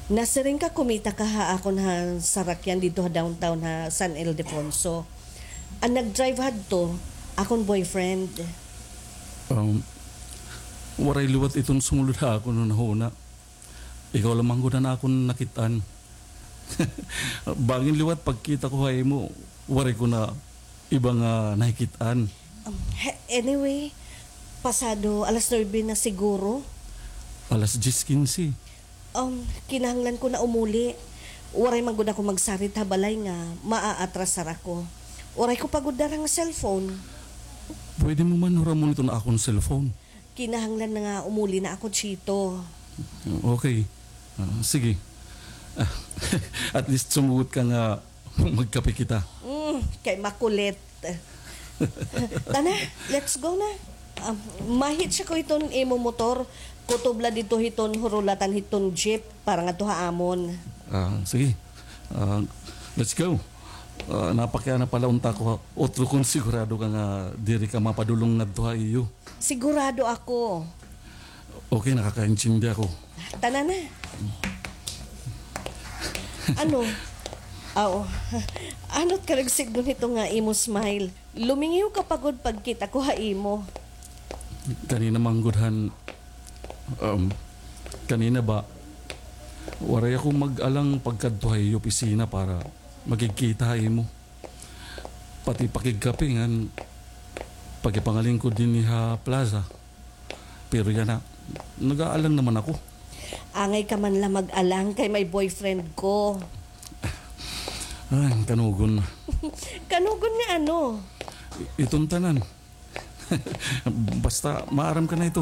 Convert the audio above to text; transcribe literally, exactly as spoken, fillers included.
Nasiring ka kumita ka ha akon ha sarakyan didto ha downtown ha San Ildefonso. An nag-drive hadto, akon boyfriend. Um, waray liwat iton sumulod ha akon hunahuna. Ikaw lamang gud an akon nakit-an. Bangin liwat pagkita ko ha imo, waray ko na iba nga nakikit-an. Um, he-, anyway, pasado alas nuebe na siguro. Alas diyes kinse. Um, kinahanglan ko na umuli. Waray man gud ako magsarit ha balay nga maaatrasar ako. Waray ko pa gud dara nga cellphone. Pwede mo man huramon iton akon cellphone. Kinahanglan na nga umuli na ako, Chito. Okay. Ah, sige. Ah, at least sumugot ka nga magkape kita. Mm, kay makulit. Tana, let's go na. Ah, ma-hitch ako hiton imo motor. Kutob la didto hiton hurulatan hiton jeep para ngadto ha amon. Ah, sige. Ah, let's go. Ah, napakiana pa la unta ako ha utro kon sigurado ka nga diri ka mapadulong ngadto ha iyo. Sigurado ako. Okay, nakakaintindi ako. Tana na. Ano? Aw. Ano ka nagsidngon hito nga imo smile? Lumingiw ka pa gud pagkita ko ha imo. Kanina man gud han, um, kanina ba, waray ako mag-alang pagkadto ha iyo opisina para makigkita ha imo. Pati pakigkape ngan pakipangalingkod dinhi ha plaza. Pero yana, nag-aalang naman ako. Angay ka man la mag-alang kay may boyfriend ko. Ay, kanugon. Kanugon nga ano? I-, iton tanan. Basta, maaram ka na ito.